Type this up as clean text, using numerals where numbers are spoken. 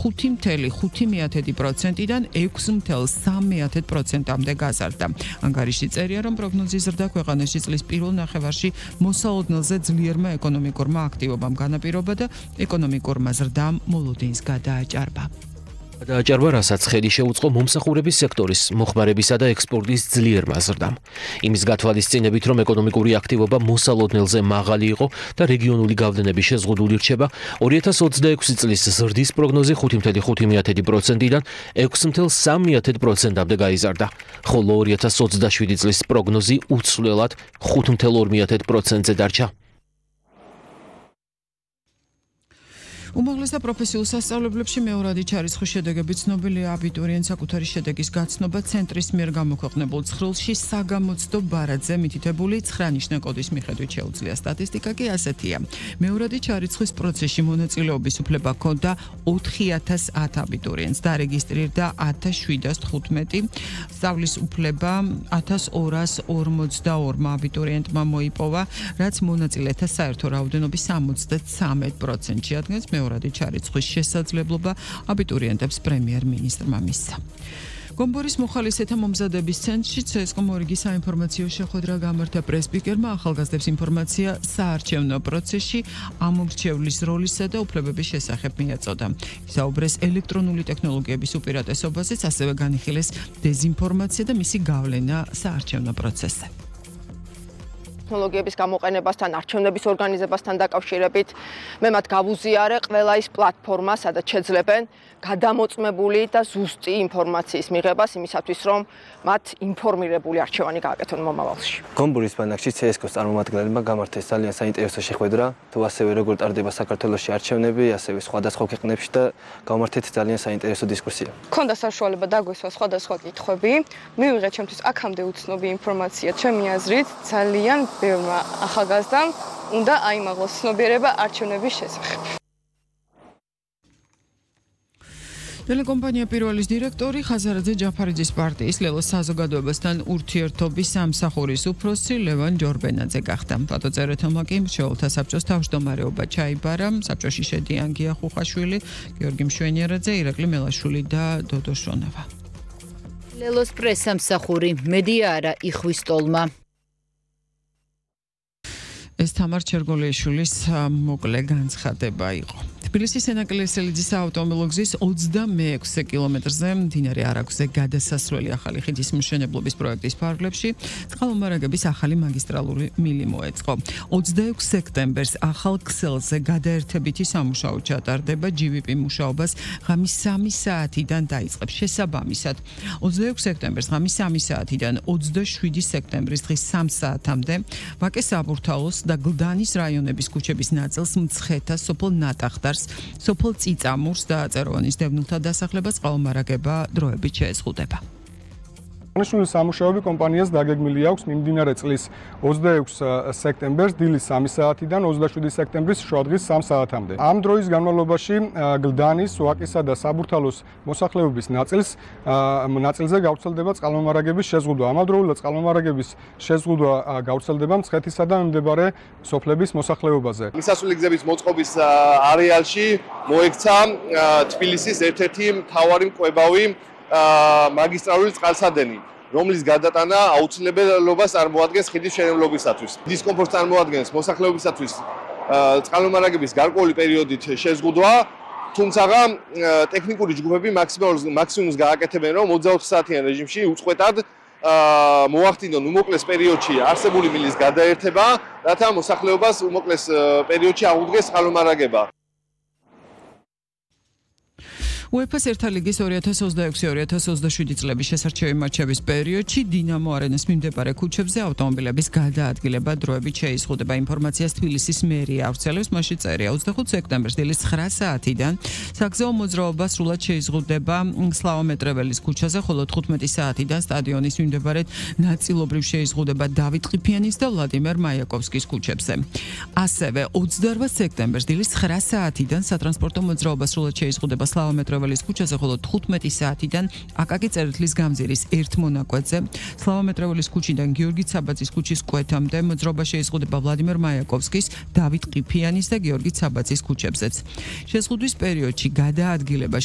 5.5%-დან 6.3%-მდე გაზარდა. ანგარიში წერია, რომ პროგნოზის ზრდა ქვეყანაში წლის პირველ ნახევარში მოსალოდნელზე ძლიერმა ეკონომიკურმა აქტივობამ განაპირობა და ეკონომიკურმა ზრდამ მოლოდინს გადააჭარბა. გადააჭარბა, რასაც ხელი შეუწყო მომსახურების სექტორის, მოხმარებისა და ექსპორტის ძლიერმა ზრდამ. იმის გათვალისწინებით, რომ ეკონომიკური აქტივობა მოსალოდნელზე მაღალი იყო და რეგიონული გავლენები შეზღუდული რჩება, 2026 წლის ზრდის პროგნოზი 5.5%-დან 6.3%-მდე გაიზარდა, ხოლო 2027 წლის პროგნოზი უცვლელად 5.2%-ზე დარჩა. უმაღლეს და პროფესიულ სასწავლებლებში მეორადი ჩარიცხვის შედეგები ცნობილია აბიტურიენტ საკუთარი შედეგის გაცნობა ცენტრის მიერ გამოქვეყნებულ ცხრილში საგამოცდო ბარათზე მითითებული 9 ნიშნა კოდის მიხედვით შეუძლია. სტატისტიკა კი ასეთია. მეორადი ჩარიცხვის პროცესში მონაწილეობის უფლება ჰქონდა 4010 აბიტურიენტს, დარეგისტრირდა 1715, სწავლის უფლება 1242 აბიტურიენტმა მოიპოვა, რაც მონაწილეთა საერთო რაოდენობის 73%-ში ადგას. მეორადი ჩარიცხვის შესაძლებლობა აბიტურიენტებს პრემიერ-მინისტრმა მისცა. გომბორის მოხალისეთა მომზადების ცენტრში CSKA მორიგი საინფორმაციო შეხვედრა გამართა პრესპიკერმა ახალგაზრდებს ინფორმაცია საარჩევნო პროცესში ამომრჩევლის როლისა და უფლებების შესახებ მიაწოდა. ისაუბრეს ელექტრონული ტექნოლოგიების უპირატესობაზეც, ასევე განიხილეს დეზინფორმაცია და მისი გავლენა საარჩევნო პროცესზე. ტექნოლოგიების გამოყენებასთან, არჩევნების ორგანიზებასთან დაკავშირებით მე მათ გავუზიარე ყველა ის პლატფორმა, სადაც შეძლებენ გადამოწმებული და ზუსტი ინფორმაციის მიღებას იმისათვის, რომ მათ ინფორმირებული არჩევანი გააკეთონ მომავალში. გომბურის ბანაკში CSKA-ს წარმომადგენლებმა გამართეს ძალიან საინტერესო შეხვედრა, თუ ასევე როგორ ტარდება საქართველოში არჩევნები, ასევე სხვადასხვა ქვეყნებში და გამართეთ ძალიან საინტერესო დისკუსია. მქონდა საშუალება დაგვესვა სხვადასხვა კითხვები, მივიღე ჩემთვის აქამდე უცნობი ინფორმაცია, ჩემი აზრით ძალიან ბევრმა ახალგაზრდამ უნდა აიმაღლოს ცნობიერება არჩევნების შესახებ. ტელეკომპანია პირველის დირექტორი ხაზარაძე ჯაფარიძის პარტიის ლელოს საზოგადოებასთან ურთიერთობის სამსახურის უფროსი ლევან ჯორბენაძე გახდა. ფოტოწერეთელმა კი მრჩეველთა საბჭოს თავმჯდომარეობა ჩაიბარა. საბჭოში შედიან გია ხუხაშვილი, გიორგი მშვენიერაძე, ირაკლი მელაშვილი და დოდო შონავა. ლელოს პრესსამსახური მედია არა იხვის ტოლმა. ეს თამარ ჩერგოლიაშვილის მოკლე განცხადება იყო. თბილისის ენაკლესელიძის საავტომობილო გზის 26 კილომეტრზე მდინარე არაგვზე გადასასვლელი ახალი ხიდის მშენებლობის პროექტის ფარგლებში წყალმომარაგების ახალი მაგისტრალური მილი მოეწყო. 26 სექტემბერს ახალ ქსელზე გადაერთებითი სამუშაო ჩატარდება, GVP მუშაობას ღამის 3 საათიდან დაიწყებს. შესაბამისად, 26 სექტემბერს ღამის 3 საათიდან 27 სექტემბრის დღის 3 საათამდე ვაკე საბურთალოს და გლდანის რაიონების ქუჩების ნაწილს მცხეთა, სოფელ ნატახტარს, სოფელ წიწამურს და წეროვანის დევნილთა დასახლებას წყალმომარაგება დროებით შეეზღუდება. აღნიშნული სამუშაოები კომპანიას დაგეგმილი აქვს მიმდინარე წლის 26 სექტემბერს დილის 3 საათიდან 27 სექტემბრის შუადღის 3 საათამდე. ამ დროის განმავლობაში გლდანის, ვაკისა და საბურთალოს მოსახლეობის ნაწილზე გავრცელდება წყალმომარაგების შეზღუდვა. ამავდროულად წყალმომარაგების შეზღუდვა გავრცელდება მცხეთისა და მიმდებარე სოფლების მოსახლეობაზე. მისასვლელი გზების მოწყობის არეალში მოექცა თბილისის ერთ-ერთი მთავარი მკვებავი მაგისტრალური წყალსადენი, რომლის გადატანა აუცილებლობას წარმოადგენს ხიდის მშენებლობისათვის. დისკომფორტს წარმოადგენს მოსახლეობისათვის წყალმომარაგების გარკვეული პერიოდით შეზღუდვა, თუმცა ტექნიკური ჯგუფები მაქსიმუმს გააკეთებენ, რომ 24 საათიან რეჟიმში უწყვეტად მოახდინონ უმოკლეს პერიოდში არსებული მილის გადაერთება, რათა მოსახლეობას უმოკლეს პერიოდში აღუდგეს წყალმომარაგება. UEFA-ს ერთა ლიგის 2026-2027 წლების შესარჩევი მატჩების პერიოდში დინამო არენას მიმდებარე ქუჩებზე ავტომობილების გადაადგილება დროებით შეიზღუდება. ინფორმაციას თბილისის მერია ავრცელებს, მასში წერია 25 სექტემბერს დილის 9 საათიდან საგზაო მოძრაობა სრულად შეიზღუდება სლავა მეტრეველის ქუჩაზე, ხოლო 15 საათიდან სტადიონის მიმდებარედ ნაწილობრივ შეიზღუდება დავით ყიფიანის და ვლადიმერ მაიაკოვსკის ქუჩებზე. ასევე 28 სექტემბერს დილის 9 საათიდან სატრანსპორტო მოძრაობა სრულად შეიზღუდება სლავა მეტრეველის ქუჩაზე, ხოლო 15 საათიდან აკაკი წერეთლის გამზირის ერთ მონაკვეთზე, სლავა მეტრეველის ქუჩიდან გიორგი ცაბაძის ქუჩის კვეთამდე მოძრაობა შეიზღუდება ვლადიმერ მაიაკოვსკის, დავით ყიფიანის და გიორგი ცაბაძის ქუჩებზეც. შეზღუდვის პერიოდში გადაადგილება